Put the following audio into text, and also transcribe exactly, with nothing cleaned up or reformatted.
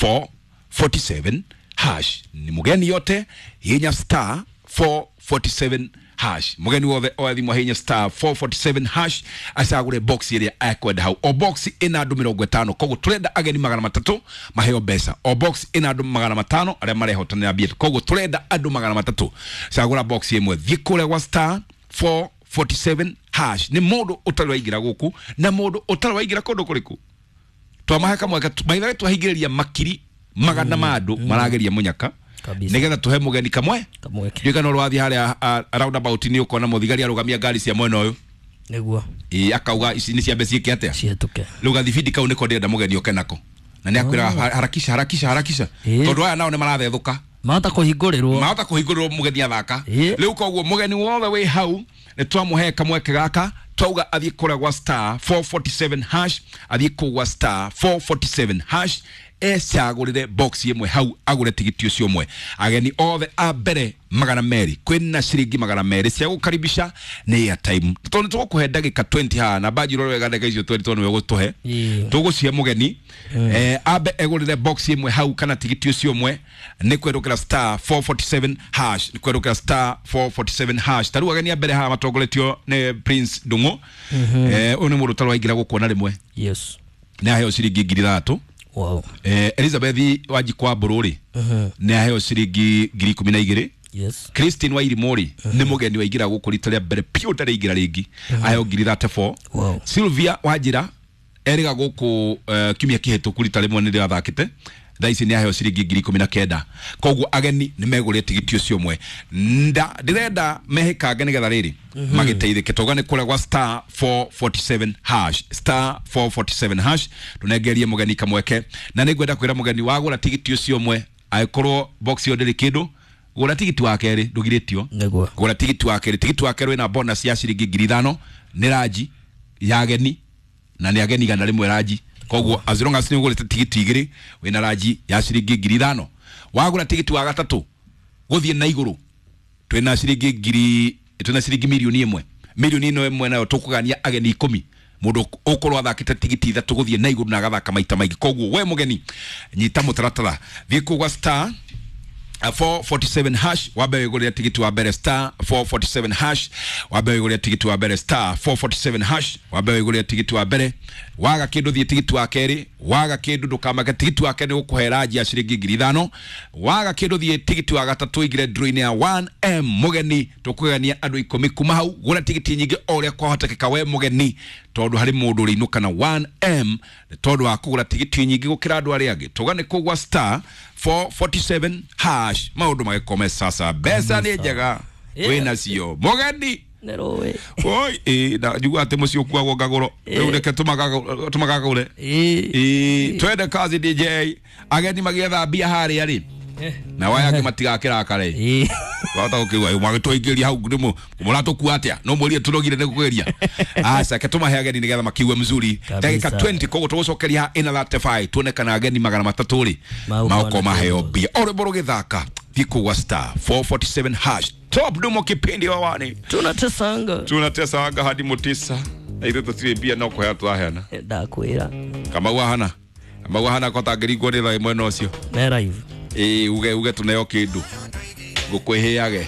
four forty-seven hash. Ni mugeni yote hinya star four forty-seven hash. Mugeni wothe oya thimu hinya star four forty-seven hash acagure box iria ekwenda hau. O box ina andu mirongo itano, koguo turenda ageni magana matatu maheo mbeca. O box ina andu magana matano aria marehotanira mbia, koguo turenda andu magana matatu. Cagura box imwe, thiĩ kũrĩa gwa star four forty-seven hash. Ni mundu utari waingira guku na mundu utari waingira kundu kuriku. Twamahe kamwe maitha twahingiriria makiri magana ma andu marageria munyaka nigetha tuhe mugeni kamwe kamweke. No rwathi haria roundabout ni ukona muthigari arugamia ngari cia mwena uyu niguo ii akauga ici ni ciambe ciike atia cietuke. Riu gathibindi kau niko ndirenda mugeni oke nako na ni akwira harakisha harakisha harakisha tondu aya nao ni marathethuka mahota kuhingurirwo mahota kuhingurirwo mugeni athaka. Riu koguo mugeni wothe wi hau ni twamuhe kamweke gaka twauga athie kũrĩa gwa star four forty-seven hash, athie kũu gwa star four forty-seven hash ecagũrĩre box ĩmwe hau agũre tigiti ũcio ũmwe. Ageni othe a mbere magana merĩ kwĩna ciringi magana merĩ cia gũkaribisha nĩ airtime. Tondũ tũgũkũhe ndagĩka twenty haha na mbanji ũrore wega ndagĩka icio twenty tondũ nĩwe ũgũtũhe. Tũgũcihe mũgeni eh ambe egũrĩre box ĩmwe hau kana tigiti ũcio ũmwe nĩ kwerũkĩra star four forty-seven hash, nĩ kwerũkĩra star four forty-seven hash. Ta rĩu ageni a mbere haha matongoretio nĩ Prince Ndung'u. Eh ũyũ nĩ mũndũ ũtarĩ waingĩra gũkũ ona rĩmwe. Yes. Nĩ aheo ciringi ngiri ithatũ. Wow. Eh, Elizabeth Wanjikwa Mbũrũ uh-huh. nĩ aheo ciringi ngiri ikũmi na igĩrĩ. Yes. Christine Wairimu rĩ uh-huh. nĩ mũgeni waingĩra gũkũ rita rĩa mbere piũ ndarĩ ingĩra rĩngĩ uh-huh. aheo ngiri thirty-four. Wow. Sylvia Wanjira erĩga gũkũ uh, kiumia kĩhĩtũku rita rĩmwe nĩ athakĩte thaa ici nĩ aheo ciringi ngiri ikũmi na kenda. Koguo ageni nĩ megũrĩte tigiti ũcio ũmwe. Nda ndĩrenda mehĩkange nĩgetha rĩrĩ magĩteithĩke. Tauga nĩ kũrĩa gwa star four forty-seven hash, star four forty-seven hash tũnengerie mũgeni kamweke. Na nĩngwenda kwĩra mũgeni wagũra tigiti ũcio ũmwe angĩkorwo box ĩyo ndĩrĩ kĩndũ gũra tigiti wa kerĩ ndũgirĩtio. Nĩguo. Gũra tigiti wa kerĩ, tigiti wa kerĩ wĩna bonus ya ciringi ngiri ithano nĩ ranji ya ageni na nĩ ageni igana rĩmwe ranji. Koguo as long as nĩ ũgũrĩte tigiti igĩrĩ wĩna ranji ya ciringi ngiri ithano. Wagũra tigiti wa gatatũ gũthiĩ na igũrũ twĩna ciringi ngiri twĩna ciringi mirioni ĩmwe. Mirioni ĩno ĩmwe nayo tũkũgania ageni ikũmi mũndũ ũkorwo athakĩte tigiti ithatũ gũthiĩ na igũrũ na agathaka maita maingĩ. Koguo we mũgeni nyita mũtaratara, thiĩ kũu gwa star four forty-seven hash wambe wĩgũrĩre tigiti wa mbere star four forty-seven hash wambe wĩgũrĩre tigiti wa mbere star four forty-seven hash wambe wĩgũrĩre tigiti wa mbere. Waga kĩndũ thiĩ tigiti wa kerĩ, waga kĩndũ ndũkamake tigiti wa kerĩ nĩ gũkũhe ranji ya ciringi ngiri ithano. Waga kĩndũ thiĩ tigiti wa gatatũ ingĩre draw-inĩ ya one M mũgeni tũkũgania andũ ikũmi kuma hau. Gũra tigiti nyingĩ o ũrĩa kwahotekeka we mũgeni tondũ harĩ mũndũ ũrĩinũka na one M tondũ wa kũgũra tigiti nyingĩ gũkĩra andũ arĩa angĩ. Tũga nĩ kũgwa star four forty-seven hash maũndũ magĩkome sasa. Mbeca nĩ njega wĩna cio mũgeni nĩ oi ĩ na njigua atĩ mũciĩ ũkuagwo ngagũro rĩu reke tũmakagũre ĩ twende kazi D J ageni magĩetha mbia harĩa rĩ na waya angĩ matigakĩrakare ĩ wahota gũkĩigua magĩtũingĩria hau nĩ mũratũkua atĩa no mũrie tũrogire nĩ kũgeria aca ke tũmahe ageni nĩgetha makiue mzuri ndagĩka twenty. Koguo tũgũcokeria ĩna thirty-five tuone kana ageni magana matatũ rĩ maũkorwo maheo mbia. O rwĩmbo rũgĩthaka thiĩ kũu gwa star four forty-seven hash. Top Dumo kipindi wawani tunatesanga tunatesanga hadi mutisa na ithuĩ tũtirĩ mbia no kũheana tũraheana. Ndakwĩra Kamau ahana Kamau ahana ko tangĩringwo nĩ thaa mwena ũcio me live ĩ uge uge tũneo kĩndũ ngũkwĩhĩage.